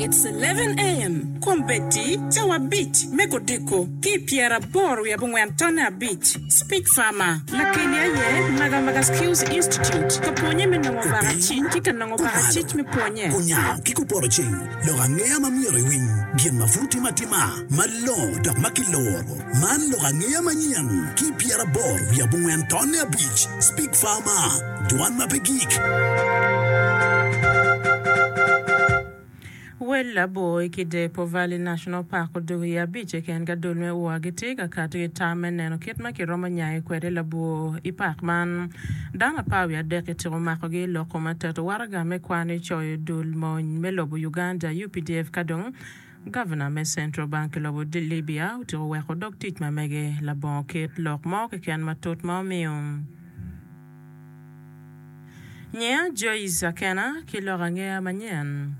It's 11 AM, Kombeddi cawa abic me kodiko ki i pyeraboro wiye abongwen tonne abic. Speech Farmer, Lakeli aye Magamaga Skills Institute ka pwonye me nongo bakacic ki ka nongo Kumalo, bakacic me pwonye. Kunyango ki kupoto ceng, lok angeya ma myero iwiny, gin ma pud timo atima, malongo dok ma kiloro. Man lok angeya manyen ki i 84 tonne abic, Speak Farmer, Dwan ma pe gik. Wel labor i Kidepo Valley National Park odoko i abic keken ka dul me ua gitye ka kato ki tam me neno kit ma kiromo nyayo kwede labwor i pak man. Dano apar wiye adek kityeko makogi i lok kom ateto waraga me kwan i coyo dul mony me lobo Uganda, UPDF, ka dong Gavana me Central Bank i lobo Libya otyeko weko dog tic ma mege labongo kit lok mo keken matut ma omiyo. Nyinga Joyce Akena ki lok angeya manyen.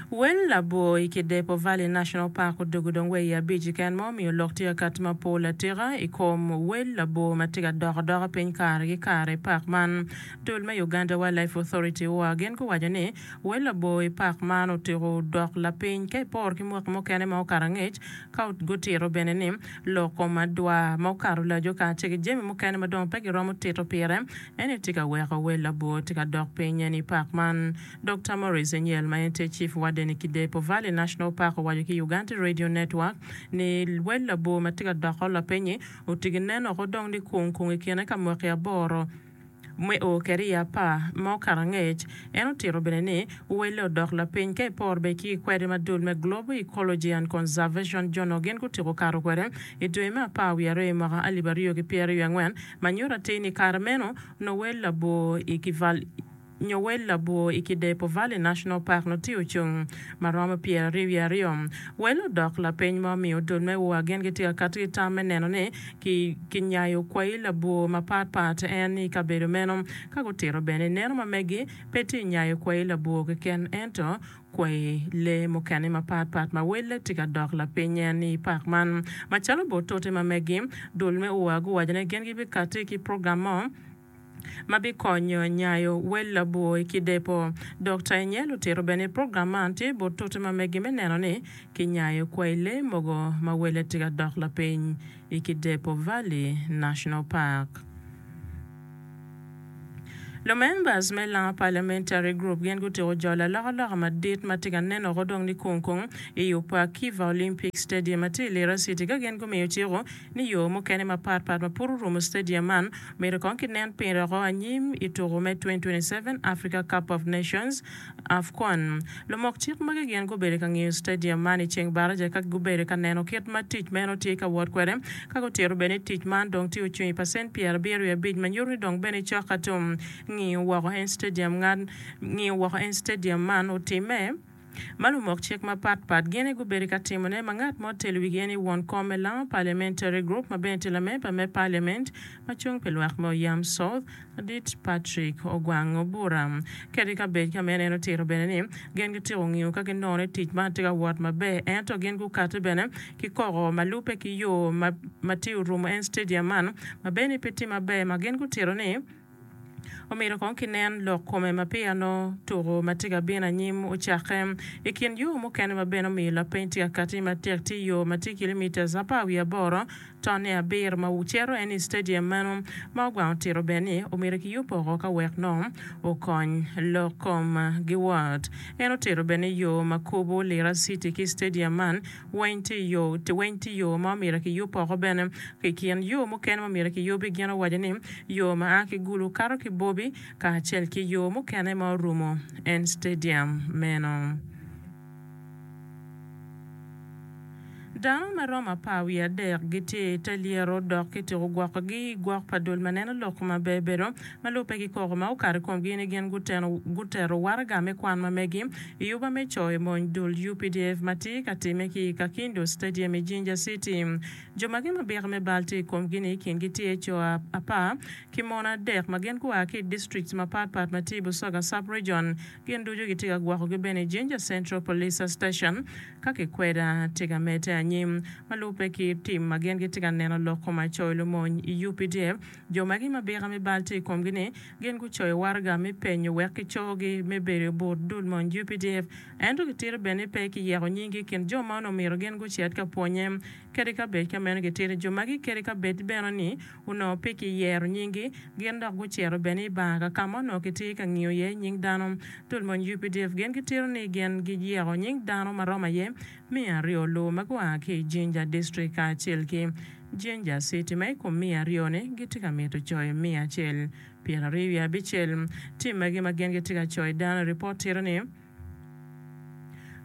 Wel labwor i Kidepo Valley National Park odwogo dong wa i abic keken ma omiyo lok tye ka kati mapol atika i kom wel labwor ma tye ka dok adoka piny kare ki kare i pak man. Dul me Uganda Wildlife Authority, UWA, gin guwaco ni wel labwor i pak man otyeko dok lapiny ka iporo ki mwaki mukene ma okato angec ka gutito bene ni Lok kom adwa ma okato laco kacel ki jami mukene ma dong pe giromo tito pire, en aye tye ka weko wel labwor tye ka dok piny en i pak man. Dokta Maurice Enyel ma en tye Chief Warden i Kidepo Valley National Park owaco ki Uganda Radio Network ni wel labwor ma tye ka doko lapiny-nyi otigi nen oko dong ni kung kung i kine ka mwaki aboro Me o kwede i apar ma okato angec, en otito bene ni, Welle odok lapiny ka iporo bene ki kwede ma dul me Global Ecology and Conservation Journal gin gutyeko kato kwede i dwe me apar wiye aryo i mwaka alip aryo ki pyeraryo angwen ma nyuto atir ni i kare meno nongo wel labwor i nyo wel labwor i Kidepo Valley National Park nongo tye ocung ma romo 22 wiye aryo. Wel odok lapiny ma omiyo dul me UA gin gitye ka kati ki tam me neno ni kinyayo kwayi labwor mapat pat en i kabedo meno. Ka gutito bene neno ma megi pe tye nyayo kwayi labwor keken ento kwayi lee mukene mapat pat ma welle tye ka dok lapiny en i pak man. Macalo bot tute ma megi, dul me UA guwaco ni gin gibikati ki program mo ma bikonyo nyayo wel labwor i Kidepo. Dokta Enyel otito bene ni program man tye but tute ma megi me neno ni kinyayo kwai lee mogo ma wele tye ka dok lapiny i Kidepo Valley National Park. Lumembers me Lango Parliamentary Group gin gutyeko jolo alokaloka madit ma tye ka nen oko dong ni kung kung i yub pa Kiva Olympic Stadium ma tye i Lira City ka gin gumiyo ciko ni yo mukene mapat pat ma pud orumo stadium man myero kong kinen pire oko anyim i tuku me 2027 Africa Cup of Nations, AFCON. Lumok cik magi gin gubedo ka ngiyo stadium man i ceng baraja ka gubedo ka neno kit ma tic meno tye ka wot kwede ka gutito bene ni tic man dong tye ocung i pacent 75 ma nyuto ni dong bene cok ka tum. Ngiyo woko en stadium man otimme. ma lumok cik mapat pat gin aye gubedo ka timone ma ngat ma otelo wigi en aye won kom me Lango Parliamentary Group ma bene tye lamemba me Parliament ma cung pi lwak me Oyam South, Ladit Patrick Ogwang Obura. Kadi ka bed ka meno en otito bene ni gin gityeko ngiyo ka ginongo ni tic man tye ka wot maber ento gin gukati bene ki koko ma lubbe ki yo ma tye orumo en stadium man ma bene pe tye maber ma gin gutito ni Omyero kong kinen lok kome ma peya nongo tuko ma tye ka bino anyim ocakke. I kin yo mukene ma bene omiyo lapeny tye ka kati matek tye yo ma tye kilomitas apar wiye aboro tonne abiro ma cito en i stadium meno ma ogwang otito bene ni omyero kiyub oko ka wek nongo okony lok kom giwot. En otito bene ni yo ma kubo Lira City ki stadium man Weny tye i yo, weny tye yo ma omyero kiyub oko bene. I kin yo mukene ma omyero kiyubi, gin owaco ni yo ma a ki Gulu kato ki Bobi kacel ki yo mukene ma orumo en stadium meno. Dano ma romo apar wiye adek gitye i te lyeto dok kityeko gwokogi i gwok pa dul ma neno lok maber bedo ma lubbe ki koko ma okato i komgi ni gin gutero waraga me kwan ma megi I yuba me coyo mony dul UPDF ma tye ka timme ki i Kakindu Stadium i Jinja City, jo magi ma byeko me bal tye i komgi-ni kingi tye co apar ki mon adek ma gin gua ki i districts mapat pat ma tye i Busoga Sub-Region. Gin ducu gitye ka gwokogi bene i Jinja Central Police Station ka kikweda tye ka medde anyim. anyim. Ma lubbe ki tim ma gin gitye ka neno lok kom acoyo lumony i UPDF, jo magi ma bika me bal tye i komgi ni gin gucoyo waraga me penyo wek kicogi me bedo but dul mony UPDF ento gitito bene ni pe kiyeko nyinggi i kin jo ma onongo myero gin gucit ka pwonye. Kadi ka bed ka meno gitito jo magi kadi ka bed bene ni onongo pe kiyero nyinggi, gin dok gucito bene i bar ka ka ma onongo kitye ka ngiyo iye nying dano. Dul mony UPDF gin gitito ni gin giyeko nying dano ma romo aye miya aryo luwo ma gua ki i Jinja District kacel ki Jinja City ma i kom 200-ni gitye ka mito coyo 125. Tim magi ma gin gitye ka coyo dano i ripot tito ni,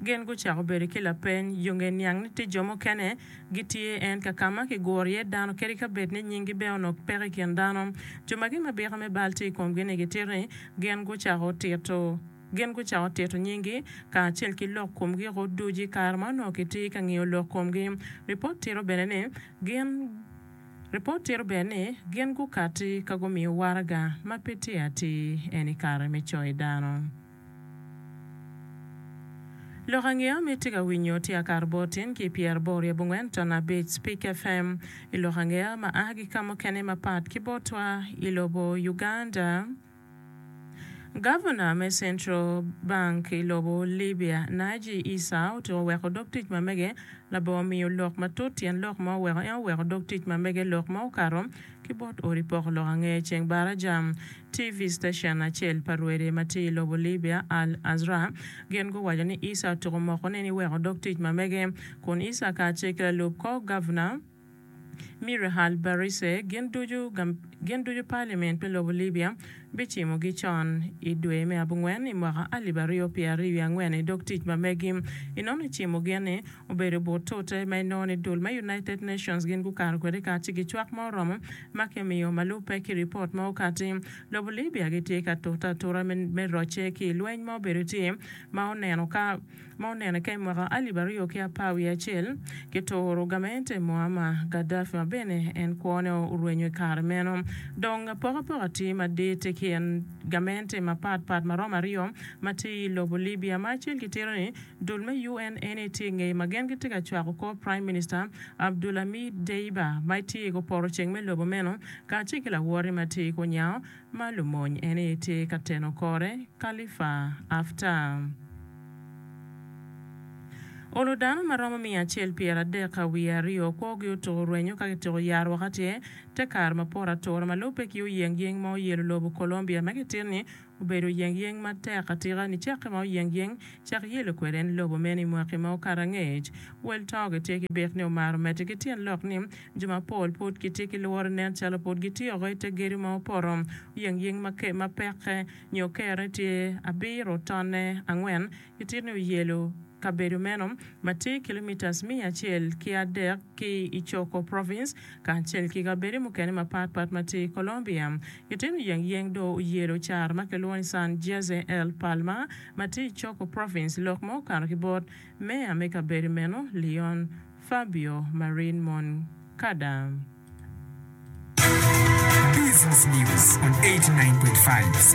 Gin gucako bedo ki lapeny yo nge niang ni tye jo mukene gitye en ka ka ma kiguro iye dano kadi ka bed ni nyinggi bene onongo peke i kin dano. Jo magi ma byeko me bal tye i komgi-ni gitito ni gin gucako tito gin gucako tito nyinggi kacel ki lok komgi-gu ducu i kare ma onongo kitye ka ngiyo lok komgi. Ripot tito bene ni gin Ripot tito bene ni gin gukatti ka gumiyo waraga ma pe tye atir en i kare me coyo dano. Lok angeya ma itye ka winyo tye akato bot tin ki pyeraboro i abongwen ton abic Speak FM i lok angeya ma a ki ka mukene mapat ki botwa i lobo Uganda. Gavana me Central Bank i lobo Libya, Naji Issa otyeko weko dog tic ma mege labongo miyo lok matut tyen lok ma oweko en oweko dog tic ma mege lok ma okato ki bot odi poko lok ange ceng baraja. TV station acel pa rwede ma tye i lobo Libya, Al Azra, gin guwaco ni Issa otuko moko ne ni weko dog tic ma mege, kun Issa kacel ki lalub kor Gavna, Mirehal Barise, gin ducu gin ducu Parliament me lobo Libya bicimogi con i dwe me abongwen i mwaka alip aryo pyeraryo wiye angwen i dog tic ma megi. Inongo ni cimo gin ni Obedo but tute ma inongo ni dul me United Nations gin gukato kwede kaci ki cwak ma oromo ma kimiyo ma lubbe ki ripot ma okati. Lobo Libya gitye ka tute atura me rocce ki i lweny ma obedo tye ma oneno ka ma onene ka i mwaka alip aryo ki apar wiye acel kituro gamente Muammar Gaddafi ma bene en kwone orwenyo i kare meno. Dong apokapoka tye madit i kin gamente mapat pat maromo aryo ma tye i lobo Libya ma acel kitito ni Dul me UN eni tye i ngeye ma gin gitye ka cwako kor Prime Minister Abdulhamid Deiba ma tye i kupoto ceng me lobo meno kacel ki lawote ma tye i kunyango ma lumony eni tye ka teno kore Khalifa Haftar. Olo dano ma romo miya acel 30 ka wiye aryo kwogi otuko rwenyo ka kityeko yaro woko atir te kare ma poto atura ma lubbe ki oyengyeng ma oyelo lobo Colombia ma kitito ni Obedo oyengyeng matek atika nicakke ma oyengyeng cak yelo kwede en lobo meno i mwaki ma okato angec. Wel to gitye ki bik ni omaro medde ki tyen lok ni jo mapol pud gitye ki lworo nen calo pud gitye oko ite gedo ma opoto. Oyengyeng ma pekke nyo kerre tye abiro tonne angwen gitito ni oyelo kabedo meno ma tye kilomitas 103 ki i Chocó Province kacel ki kabedo mukene mapat pat ma tye i Colombia. Gitino yeng yeng dong oyelo caro ma kilwongo ni San Jose El Palmar ma tye i Chocó Province. Lok ma okato ki bot meya me kabedo meno, Leon Fabio Marin Moncada. Business News on 89.5.